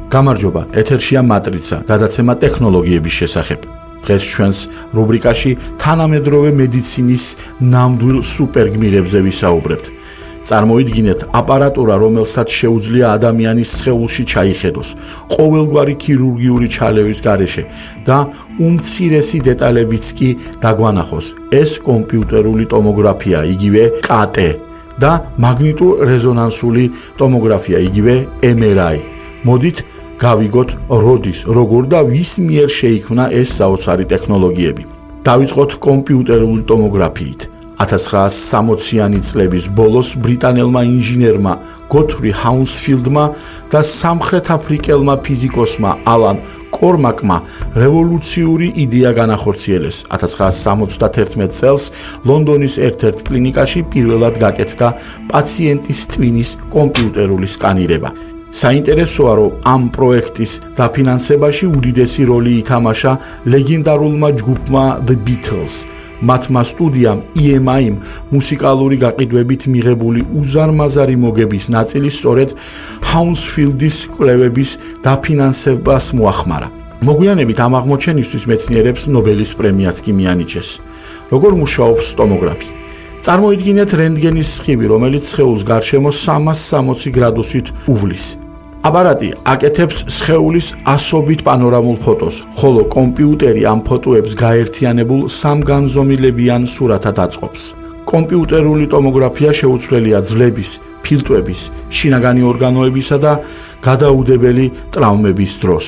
გამარჯობა, ეთერშია მატრიცა, გადაცემა ტექნოლოგიების შესახებ. დღეს ჩვენს რუბრიკაში თანამედროვე მედიცინის ნამდვილ სუპერგმირებზე ვისაუბრებთ. წარმოიდგინეთ აპარატურა, რომელსაც შეუძლია ადამიანის სხეულში ჩაიხედოს, ყოველგვარი ქირურგიული ჩალევის გარეშე და უმცირესი დეტალებიც კი დაგვანახოს. ეს კომპიუტერული ტომოგრაფია, იგივე CT და მაგნიტურ-რეზონანსული ტომოგრაფია, იგივე MRI. მოდით გავიგოთ როდის, როგორ და ვის მიერ შეიქმნა ეს საოცარი ტექნოლოგიები. დავიწყოთ კომპიუტერული ტომოგრაფიით. 1960-იანი წლების ბოლოს ბრიტანელმა ინჟინერმა გოთფრი ჰაუნსფილდმა და სამხრეთ აფრიკელმა ფიზიკოსმა ალან კორმაკმა რევოლუციური იდეა განახორციელეს. 1971 წელს ლონდონის ერთ-ერთ კლინიკაში პირველად გაკეთდა პაციენტის ტვინის კომპიუტერული სკანირება. საინტერესოა, რომ ამ პროექტის დაფინანსებაში უდიდესი როლი ითამაშა ლეგენდარულმა ჯგუფმა The Beatles. მათმა სტუდიამ EMI-მ მუსიკალური გაყიდვებით მიღებული უზარმაზარი მოგების ნაწილი სწორედ ჰაუნსფილდის კვლევების დაფინანსებას მოახმარა. მოგვიანებით ამ აღმოჩენისთვის მეცნიერებს ნობელის პრემიაც კი მიანიჭეს. როგორ მუშაობს ტომოგრაფი? წარმოიდგინეთ რენტგენის სხივი, რომელიც სხეულს გარშემო 360 გრადუსით უვლის. აპარატი აკეთებს სხეულის ასობით პანორამულ ფოტოს, ხოლო კომპიუტერი ამ ფოტოებს გაერთიანებულ სამგანზომილებიან სურათად აწყობს. კომპიუტერული ტომოგრაფია შეუცვლელია ძვლების, ფილტვების, შინაგანი ორგანოებისა და გადაუდებელი ტრავმების დროს.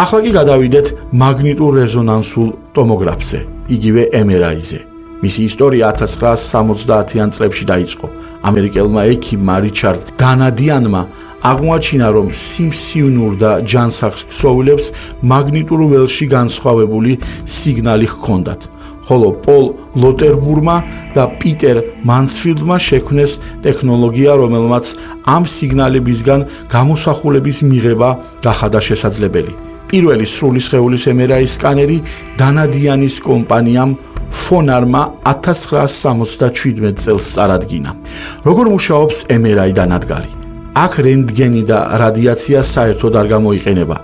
ახლა კი გადავიდეთ მაგნიტურ-რეზონანსულ ტომოგრაფზე, იგივე MRI-ზე. მისი ისტორია 1970-იან წლებში დაიწყო. ამერიკელმა ექიმმა რიჩარდ დანადიანმა აღმოაჩინა, რომ სიმსივნურ და ჯანსაღ ქსოვილებს მაგნიტურ ველში განსხვავებული სიგნალი ჰქონდათ, ხოლო პოლ ლოტერბურმა და პიტერ მანსფილდმა შექმნეს ტექნოლოგია, რომელმაც ამ სიგნალებისგან გამოსახულების მიღება გახადა შესაძლებელი. პირველი სრული სხეულის MRI სკანერი დანადიანის კომპანიამ ფონარმა 1977 წელს წარადგინა. როგორ მუშაობს MRI დანადგარი? აქ რენტგენი და რადიაცია საერთოდ არ გამოიყენება.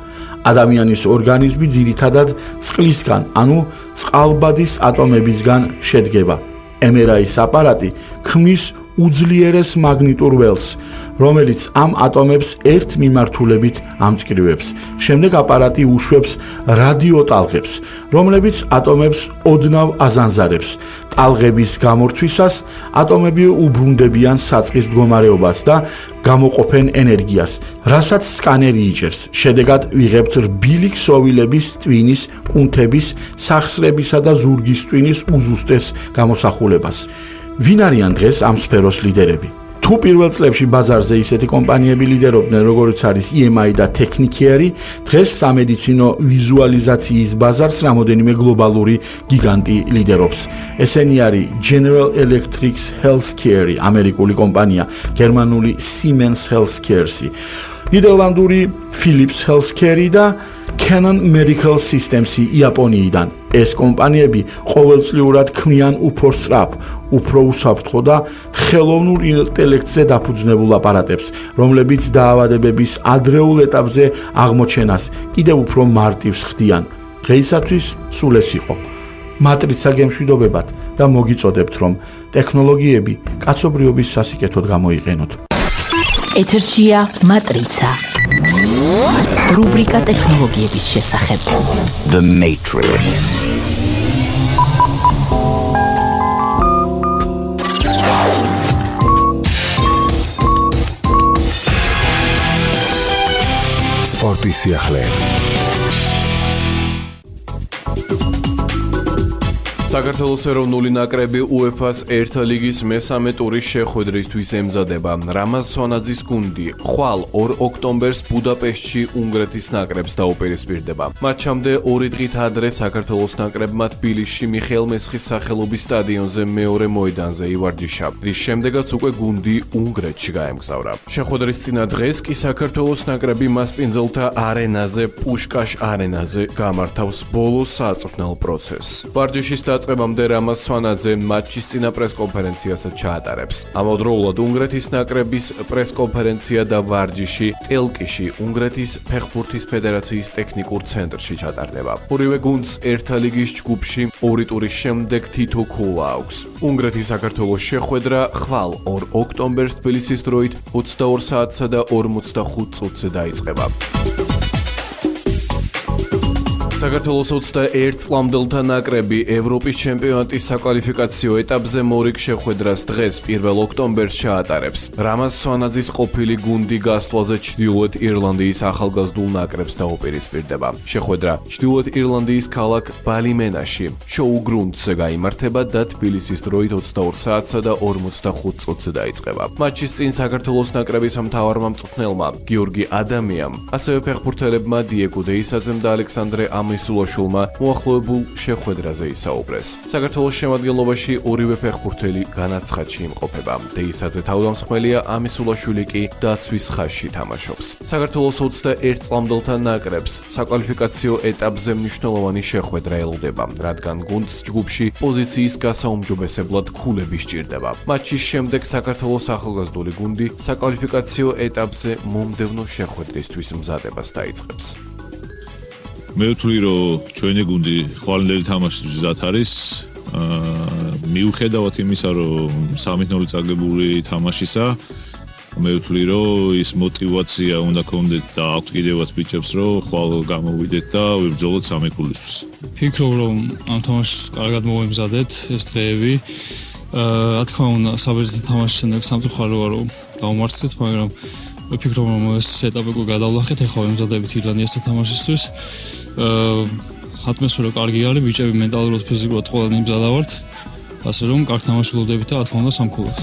ადამიანის ორგანიზმი ძირითადად წყლისგან, ანუ წყალბადის ატომებისგან შედგება. MRI-ის აპარატი ქმნის უძლიერეს მაგნიტურ ველს, რომელიც ამ ატომებს ერთ მიმართულებით ამწკრივებს. შემდეგ აპარატი უშვებს რადიოტალღებს, რომლებიც ატომებს ოდნავ აზანზარებს. ტალღების გამორთვისას ატომები უბრუნდებიან საწყის მდგომარეობას და გამოყოფენ ენერგიას, რასაც სკანერი იჭერს. შედეგად ვიღებთ რბილი ქსოვილების ტვინის, კუნთების, სახსრებისა და ზურგის ტვინის უზუსტეს გამოსახულებას. ვინ არიან დღეს ამ სფეროს ლიდერები? თუ პირველ წლებში ბაზარზე ისეთი კომპანიები ლიდერობდნენ, როგორც არის EMI და Technicare, დღეს სამედიცინო ვიზუალიზაციის ბაზარს რამოდენიმე გლობალური გიგანტი ლიდერობს. ესენი არის General Electric Healthcare, ამერიკული კომპანია, გერმანული Siemens Healthcare, ნიდერლანდური Philips Healthcare და Canon Medical Systems იაპონიიდან. ეს კომპანიები ყოველწლიურად ქმნიან უფრო სწრაფ, უფრო უსაფრთხო და ხელოვნურ ინტელექტზე დაფუძნებულ აპარატებს, რომლებიც დაავადებების ადრეულ ეტაპზე აღმოჩენას კიდევ უფრო მარტივს ხდიან. დღეისათვის სულ ეს იყო. მატრიცა გემშვიდობებად და მოგიწოდებთ, რომ ტექნოლოგიები კაცობრიობის სასიკეთოდ გამოიყენოთ. ეთერშია მატრიცა. რუბრიკა ტექნოლოგიების შესახებ. The Matrix. სპორტის სიახლეები. საქართველოს ეროვნული ნაკრები UEFA-ს ერთა ლიგის მესამე ტურის შეხვედრისთვის ემზადება. რამაზ სვანაძის გუნდი ხვალ 2 ოქტომბერს ბუდაპეშტში უნგრეთის ნაკრებს დაუპირისპირდება. მატჩამდე 2 დღით ადრე საქართველოს ნაკრებმა თბილისში მიხეილ მესხის სახელობის სტადიონზე მეორე მოედანზე ივარჯიშა, რის შემდეგაც უკვე გუნდი უნგრეთში გაემგზავრა. შეხვედრის წინა დღეს კი საქართველოს ნაკრები მასპინძელთა არენაზე, პუშკაშ არენაზე გამართავს ბოლო საწვრთნელ პროცესს. ვარჯიშის დაწყებამდე რამაზ სვანაძე მატჩის წინა პრესკონფერენციასაც ჩაატარებს. ამავდროულად უნგრეთის ნაკრების პრესკონფერენცია და ვარჯიში ტელკიში უნგრეთის ფეხბურთის ფედერაციის ტექნიკურ ცენტრში ჩატარდება. ორივე გუნდს ერთა ლიგის ჯგუფში ორი ტურის შემდეგ თითო ქულა აქვს. უნგრეთის საქართველოს შეხვედრა ხვალ 2 ოქტომბერს თბილისის დროით 22 საათსა და 45 წუთზე დაიწყება. საქართველოს 21 წლამდელთა ნაკრები ევროპის ჩემპიონატის საკვალიფიკაციო ეტაპზე მორიგ შეხვედრას დღეს 1 ოქტომბერს ჩაატარებს. რამაზ სვანაძის ყოფილი გუნდი გასვლაზე ჩრდილოეთ ირლანდიის ახალგაზრდულ ნაკრებს დაუპირისპირდება. შეხვედრა ჩრდილოეთ ირლანდიის ქალაქ ბალიმენაში, შოუ გრუნდზე გაიმართება და თბილისის დროით 22 საათსა და 45 წუთზე დაიწყება. მატჩის წინ საქართველოს ნაკრების მთავარმა მწვრთნელმა გიორგი ადამიამ, ასევე ფეხბურთელებმა დიეგო დეისაძემ და ალექსანდრე ამისულაშვილმა მოახლოებულ შეხვედრაზე ისაუბრეს. საქართველოს შემადგენლობაში ორივე ფეხბურთელი განაცხადში იმყოფება. დეისაძე თავდამსხმელია, ამისულაშვილი კი დაცვის ხაზში თამაშობს. საქართველოს 21 წლამდელთა ნაკრებს საკვალიფიკაციო ეტაპზე მნიშვნელოვანი შეხვედრა ელოდება, რადგან გუნდს ჯგუფში პოზიციის გასაუმჯობესებლად ქულები სჭირდება. მატჩის შემდეგ საქართველოს ახალგაზრდული გუნდი საკვალიფიკაციო ეტაპზე მომდევნო შეხვედრისთვის მზადებას დაიწყებს. მე ვთვლი, რომ ჩვენი გუნდი ხვალინდელი თამაშის მზად არის. მიუხედავად იმისა, რომ 3-0 წაგებული თამაშისა, მე ვთვლი, რომ ის мотиваცია უნდა გქონდეთ და აქვთ კიდევაც ბიჭებს, რომ ხვალ გამოვიდეთ და ვიბრძოლოთ 3 ქულისთვის. ფიქრობ, რომ ამ თამაშს კარგად მოვემზადეთ ეს დღეები. რა თქმა უნდა, საბერძნეთის თამაშის შემდეგ სამწუხარო ვარ, რომ დავმარცხეთ, მაგრამ ვფიქრობ, რომ ეს ეტაპი გადავლახეთ, ეხლა ვემზადებით ირლანდიასთან თამაშისთვის. ატმოსფერო კარგი არის, ბიჭები მენტალურად, ფიზიკურად ყველანი მზადა ვართ. ასე რომ კარგ თამაში ვლოდებით და რა თქმა უნდა სამქულოს.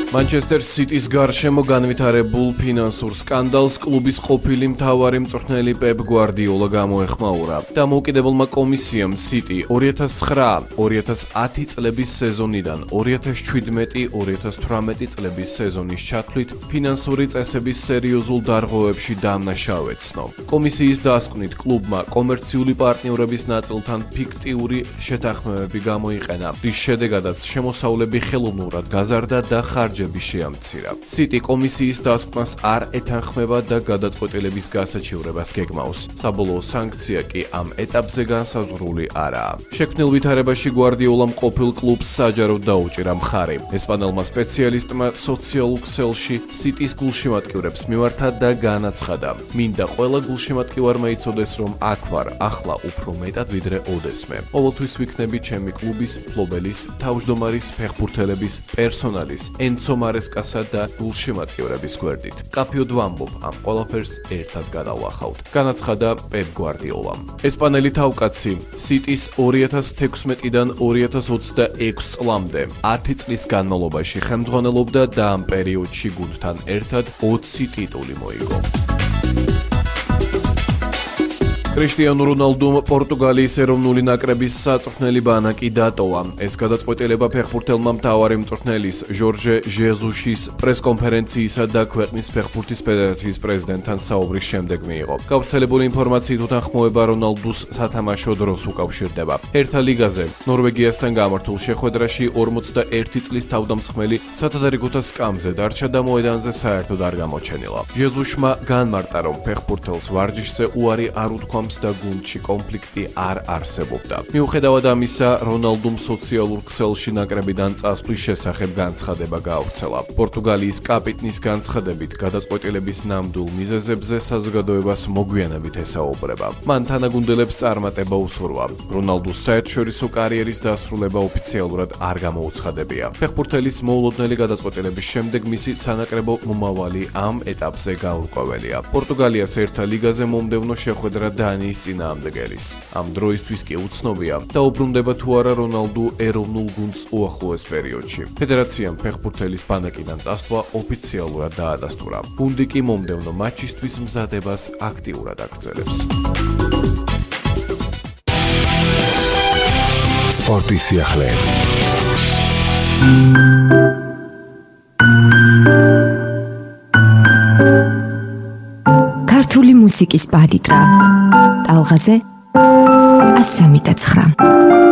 Manchester City-ს გარშემო განვითარებულ ფინანსურ სკანდალს კლუბის ყოფილი მთავარი მწვრთნელი პეპ გვარდიოლა გამოეხმაურა. დამოუკიდებელმა კომისიამ City 2009-2010 წლების სეზონიდან 2017-2018 წლების სეზონის ჩათვლით ფინანსური წესების სერიოზულ დარღვევებში დამნაშავე ეცნო. კომისიის დასკვნით კლუბმა კომერციული პარტნიორების ნაწილთან ფიქტიური შეთანხმებები გამოიყენა, რის შედეგადაც შემოსავლები ხელოვნურად გაზარდა და ხარჯები შეამცირა. City კომისიის დასკვნას არ ეთანხმება და გადაწყვეტილების გასაჩივრებას გეგმავს. საბოლოო სანქცია კი ამ ეტაპზე განსაზღვრული არაა. შექმნილ ვითარებაში გვარდიოლამ ყოფილ კლუბს საჯაროდ დაუჭირა მხარი. ესპანელმა სპეციალისტმა სოციალურ ქსელში City-ს გულშემატკივრებს მიმართა და განაცხადა: მინდა ყველა გულშემატკივარმა იცოდეს, რომ აქ ვარ ახლა უფრო მეტად ვიდრე ოდესმე. ყოველთვის ვიქნები ჩემი კლუბის, ფლობელის, თავმჯდომარის, ფეხბურთელების, პერსონალის, მარესკასა და გულშემატკივრების გვერდით. კაფიოდ ვამბობ, ამ ყველაფერს ერთად გადავახავთ. განაცხადა პეპ გვარდიოლამ. ესპანელი თავკაცი City-ს 2016-დან 2026 წლამდე 10 წლის განმავლობაში ხელმძღვანელობდა და ამ პერიოდში გუნდთან ერთად 20 ტიტული მოიგო. კრისტიანო რონალდუმ პორტუგალიის ეროვნული ნაკრების საწვრთნელი ბანაკი დატოვა. ეს გადაწყვეტილება ფეხბურთელმა მთავარი მწვრთნელის ჟორჟე ჟეზუშის პრესკონფერენციისა და ქვეყნის ფეხბურთის ფედერაციის პრეზიდენტთან საუბრის შემდეგ მიიღო. გავრცელებული ინფორმაციით უთანხმოება რონალდუს სათამაშო დროს უკავშირდება. ერთა ლიგაზე ნორვეგიასთან გამართულ შეხვედრაში 41 წლის თავდამსხმელი სათადარიგოთა სკამზე დარჩა და მოედანზე საერთოდ არ გამოჩენილა. ჟეზუშმა განმარტა, რომ ფეხბურთელს ვარჯიშზე უარი არ უთქვა და გუნდში კონფლიქტი არ არსებობდა. მიუხედავად ამისა, რონალდუმ სოციალურ ქსელში ნაკრებიდან წასვლის შესახებ განცხადება გაავრცელა. პორტუგალიის კაპიტნის განცხადებით, გადაწყვეტილების ნამდვილ მიზეზებზე საზოგადოებას მოგვიანებით ესაუბრება. მან თანაგუნდელებს წარმატება უსურვა. რონალდუს საერთაშორისო კარიერის დასრულება ოფიციალურად არ გამოუცხადებია. ფეხბურთელის მოულოდნელი გადაწყვეტილების შემდეგ მისი სანაკრებო მომავალი ამ ეტაპზე გაურკვეველია. პორტუგალიას ერთა ლიგაზე მომდევნო შეხვედრა დანიის წინააღმდეგელის. ამ დროისთვის კი უცნობია, დაუბრუნდება თუ არა რონალდუ ეროვნულ გუნდს უახლოეს პერიოდში. ფედერაციამ ფეხბურთელის ბანაკიდან წასვლა ოფიციალურად დაადასტურა. გუნდი კი მომდევნო მატჩისთვის მზადებას აქტიურად აგრძელებს. სპორტის სიახლეები. ქართული მუსიკის პალიტრა. ტალღაზე 139